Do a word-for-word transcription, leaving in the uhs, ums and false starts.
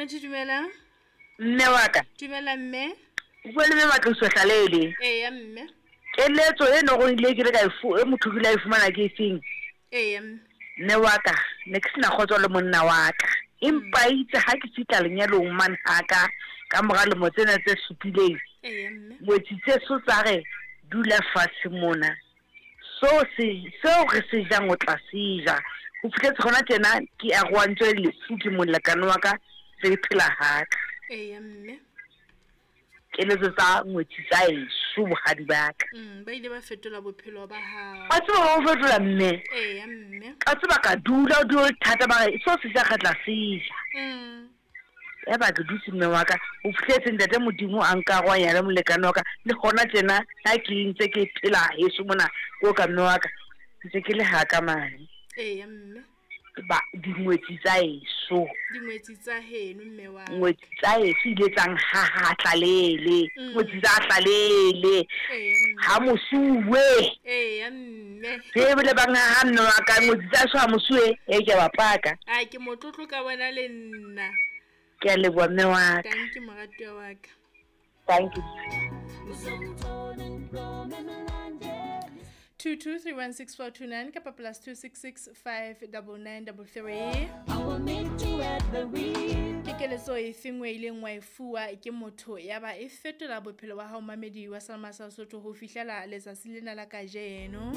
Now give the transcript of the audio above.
Mamedi, dumela. Mme wa ka. Dumela mme. O bua le mme Matloso Hlalele. Eya mme. Keletso e no go ile ke re ka e fu- e motho ke ile a e fumana ke efeng? Eya mme. Mme wa ka, ne ke sena kgotso le monna wa ka. Empa itse ha ke fihla lenyalong mane ha ka, ka mora lemo tsena tse supileng, Eya mme. ngwetsi tse so tsa re dula fatshe mona. So se seo re se jang o tla se ja. Ho fihletse hona tjena ke arohantswe le lefu ke molekane wa ka, re phela haka. Eya mme. Keletso tsa ngwetsi tsa eso bohadi ba ka. Mm, ba ile ba fetola bophelo ba hao. Wa tseba ba o fetola mme. Eya mme. Ka tseba ka dula o dula o le thata ba re seo se ja re tla se ja. Mm. Ya ba ke dutse mme wa ka, o fihletse ntate Modimo a nkarohanya le molekane wa ka, le hona tjena ha ke ntse ke phela heso mona ko ka mme wa ka, ntse ke le haka mane. Eya mme. Ba dingwetsi tsa eso. Dingwetsi tsa heno mme wa ka. Ngwetsi tsa eso ile tsa nhaha tlalele. Mm. Ngwetsi tsa tlalele. Eya mme. Ha mosuwe. Eya mme. Re bile ba nhaha mme wa ka, ngwetsi tsa eso ha mosuwe, e ke ba paka. Ai ke motlotlo ka bona le nna. Ke a leboha mme wa ka. Thank you moratuwa wa ka. Thank you. two two three one six four two nine kapa plus two six six five double nine double three. Ke keletso efe nngwe e ileng wa e fuwa ke motho ya ba e fetola bophelo ba hao mamedi wa Salma sa Sotho ho fihlela letsatsi lena la kajeno?